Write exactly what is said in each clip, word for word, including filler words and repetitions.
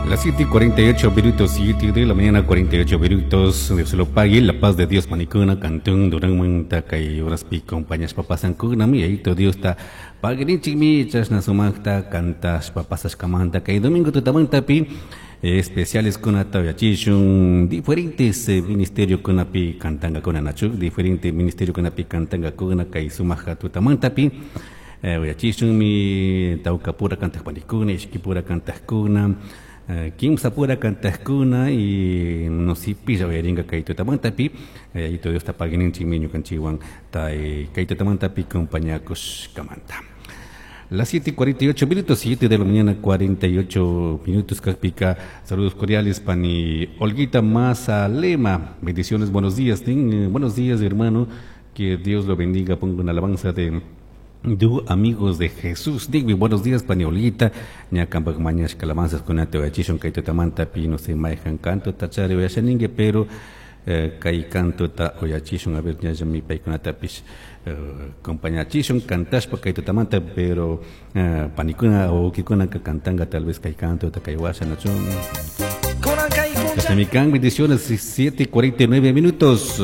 Las siete y cuarenta y ocho minutos, siete de la mañana, cuarenta y ocho minutos. Dios lo pague, la paz de Dios, panicuna, cantón, Durán manta, kay horaspi compañashpa pasankuna, mi Yayito Diosta paguirinchikmi, chashna sumaqta cantashpa pasashkamanta, kay domingo tutamantapi especiales kunata uyachishun, diferentes eh, ministerio kunapi cantankakuna nachu, diferente ministerio kunapi cantankakuna kay sumaja tutamantapi eh, uyachishunmi tawkapura kantaq panikuna, ishkipura kantaqkuna, eh, kimsapura kantaqkuna y no si pilla uyarinka kay tutamantapi. Yayito Diosta paguininchikmi ñukanchikwan tay kay tutamantapi compañakushkamanta. Las siete y cuarenta y ocho minutos, siete de la mañana, cuarenta y ocho minutos, kakpika. Saludos cordiales, pani Olguita Mazalema. Bendiciones, buenos días. Ten, buenos días, hermano. Que Dios lo bendiga. Pongo una alabanza de Du amigos de Jesús. Digui, buenos días, pani Olguita. Ña kampak mañashka alabanzas kunata uyachishun kay tutamantapi, no sé, mayhan canto tachari uyashaningue, pero eh, kay cantota uyachishun, a ver, ñallami paykunatapish eh, compañachishun cantashpa kay tutamanta, pero eh, panikuna o wawkikunaka cantanga tal vez kay cantota kay washa nachun. Mikan, bendiciones, siete y cuarenta y nueve minutos.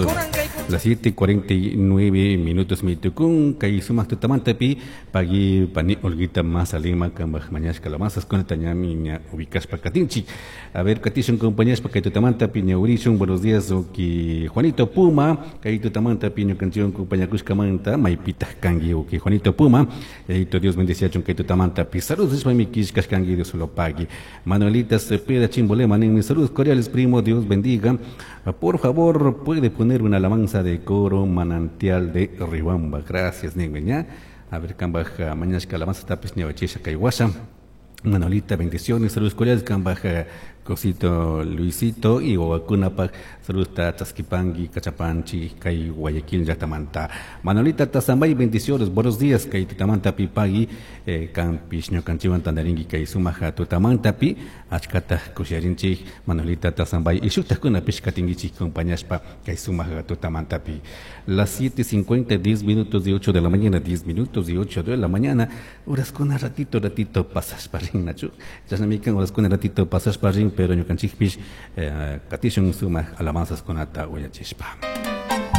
Las siete y cuarenta y nueve minutos mitukun kay sumaq tutamantapi pagui pani Olguita Mazalima kampak mañashka alabanzas kunata ñami ña ubicashpa katinchik. A ver, katishun compañashpa kay tutamantapi ñawrishun. Buenos días, uki Juanito Puma, kay tutamantapi ñukanchikwan compañakushkamanta, maypitaq kanki, uki Juanito Puma? Yayito Dios bendeciachun kay tutamantapi. Saludos nishpami killkashkanki, Dios lo pague. Manuelita Cepeda Chimbolema ninmi: saludos cordiales, primo, Dios bendiga. Por favor, puede poner una alabanza de coro Manantial de Riobamba. Gracias, ninmi. A ver, kampak mañashka alabanza tapis ñawachisha kay washa. Manolita, bendiciones, saludos cordiales, kampak cosito Luisito y wawakunapak saludos ta chaskipangi kachapanchi kay Guayaquil llaqtamanta. Manolita Tazambay, bendiciones, buenos días, kay tutamanta pipagi eh, kampish ñukanchikwan tantarinki kay sumaja tutamantapi achkata kusharinchik. Manolita Tazambay y shuktakunapish katinkichik compañashpa kay sumaja tutamantapi. Las siete cincuenta, diez minutos de ocho de la mañana, diez minutos de ocho de la mañana, horaskuna ratito ratito pasashpa rin nachu, chashnami kan, horaskuna ratito pasashpa rin, pero ñukanchikpish eh, katishun sumaq alabanzaskunata uyachishpa.